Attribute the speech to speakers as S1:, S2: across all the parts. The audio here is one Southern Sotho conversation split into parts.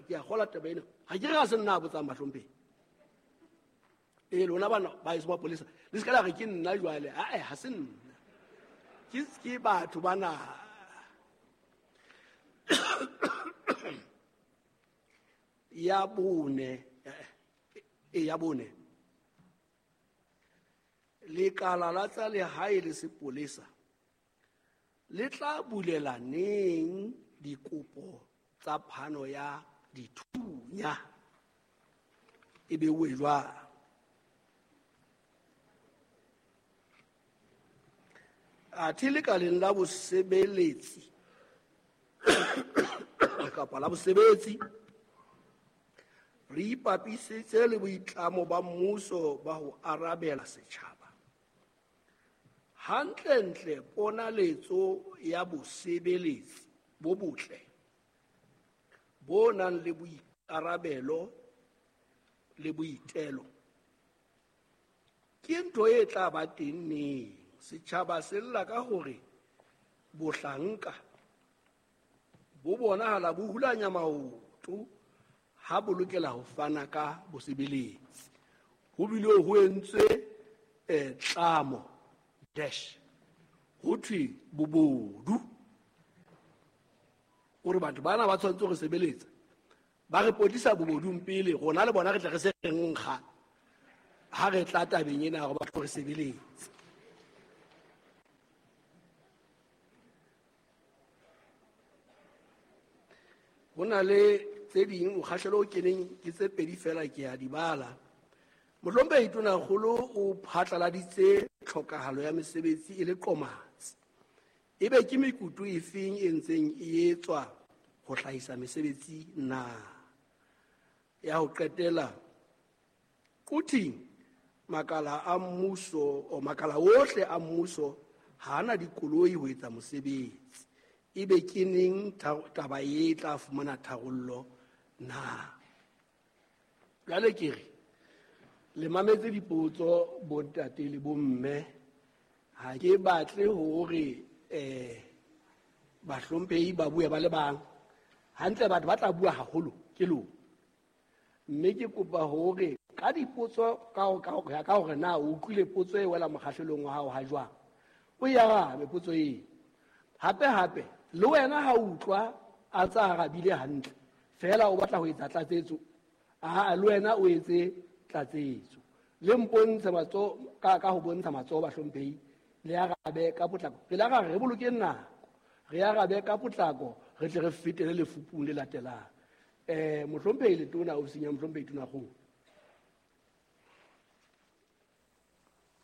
S1: Ke a kgola taba ena, ga ke re ga se nna a botsang bahlomphehi. Ee, lona bana ba eso mapolesa, le se ka la re ke nna jwale. Ae, ha se nna, ke batho bana. Ya bone, e ya bone, lekala la tsa lehae le sepolesa le tla bulela neng dikopo tsa phano ya dithunya? E beuwe jwang? Athe lekaleng la bosebeletsi kapa la bosebetsi, re ipapisitse le boitlamo ba mmuso ba ho arabela setjhaba. Hantlentle, ponaletso ya bosebeletsi bo botle bo nang le boikarabelo le boitelo ke ntho e tla ba teng neng? Setjhaba se lla ka hore bohlanka bo bonahala bo hulanya maoto ha bo lokela ho fana ka bosebeletsi, ho bile ho entswe tlamo dash ho thwe bobodu, hore batho bana ba tshwanetse ho sebeletsa ba re potlisa bobodung pele rona le bona re tle re se re nkga ha re tla tabeng ena hore ba tlo re sebeletse. Ho na le tse ding mokgahlelo o keneng ke tse pedi fela, ke a di bala. Mohlomphehi Tonakgolo o phatlaladitse tlhokahalo ya mesebetsi e le qomatsi. Ebe ke mekutu efeng e ntseng e etswa ho hlahisa mesebetsi na? Ya ho qetela, Quthing makala a mmuso o makala ohle a mmuso ha ana dikoloi ho etsa mosebetsi. Ebe ke neng taba e tla fumana tharollo na? Jwale ke re le mametse dipotso, bontate le bomme. Ha ke batle hore bahlomphehi ba bue ba le bang hantle, batho ba tla bua haholo ke lona, mme ke kopa hore ka dipotso ka hore na o utlwile potso e wela mokgahlelong wa hao ha jwang, o e arabe potso eo. Hape hape le wena ha o utlwa a tsa arabile hantle fela, o batla ho etsa tlatsetso, aa, le wena o etse tlatsetso. Le mpontshe matsoho ka ho bontsha matsoho, bahlomphehi, le arabe ka potlako. Re la re bolokeng nako, re arabe ka potlako, re tle re fetele lefupung le latelang. Mohlomphehi Letona, ofising ya mohlomphehi Tonakgolo.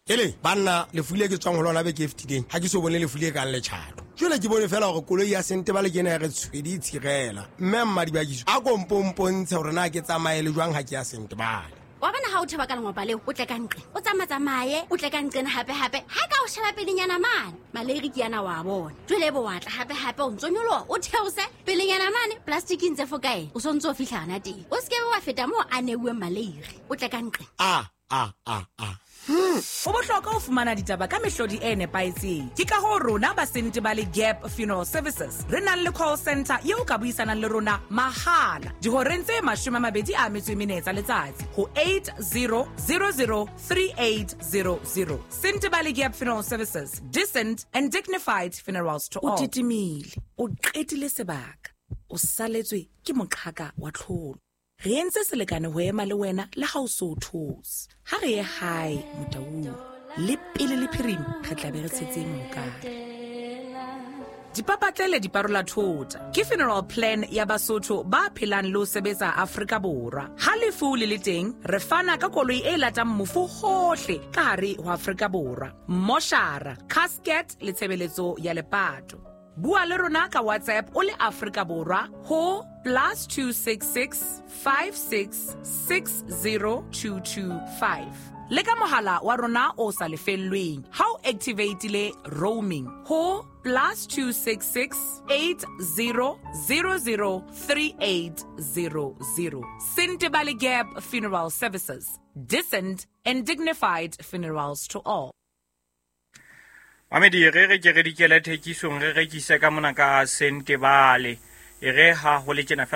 S2: Ele banna, lefu le ke tswang ho lona beke e fetileng, ga ke so bone lefu le kang letšhato. Jale ke bone fela gore koloi ya sente ba le kena ya re tshwedi e tshirela. Mme mmadibakiso a kompompontshe gore na ke tsamaye le jwang ga ke ya sente bale.
S3: Wa bona, ha o theba ka lengopa leo, o tle ka nqe, o tsamatsamaye, o tle ka nqena hape hape. Ha ka o sheba pelenyana mane, maleiri ke yana wa bona. Jwale ebe wa tla hape hape, o ntso nyoloha, o theose pelenyana mane plasticing tse fokae, o sontse o fihla hana teng. O se ke be wa feta moo a neuweng maleiri, o tle ka nqe.
S2: A a a a
S4: Ho bohlokwa ho fumana ditaba ka mehlodi e nepahetseng. Ke ka hoo rona ba Sentebale Gap Funeral Services re nang le call center eo ka buisanang le rona mahala dihoreng tse 24 tsa letsatsi ho 80003800. Sentebale Gap Funeral Services, decent and dignified funerals to
S5: O
S4: all.
S5: Titimile, o qetile sebaka, o saletswe ke moqhaka wa tlholo. Re entse selekane ho ema le wena le ha o so o thotse. Ha re ye hae Motaung, le pele le phirima re tla be re tshetse mohokare.
S4: Dipapatlele di parola thota ke funeral plan ya Basotho ba phelang le ho sebetsa Afrika Borwa. Ha lefu le le teng, re fana ka koloi e latang mofu hohle ka hare ho Afrika Borwa, moshara, casket le tshebeletso ya lepato. Bua le rona ka WhatsApp o le Afrika Borwa ho +266 56 60225, le ka mohala wa rona o sa lefellweng ha o activatile roaming ho +266 80 003800. Sentebale Gap Funeral Services, decent and dignified funerals to all.
S6: Mamedi, re re ke re dikele thekisong, re rekise ka mona ka Sentebale. E re ha ho le tjena fela.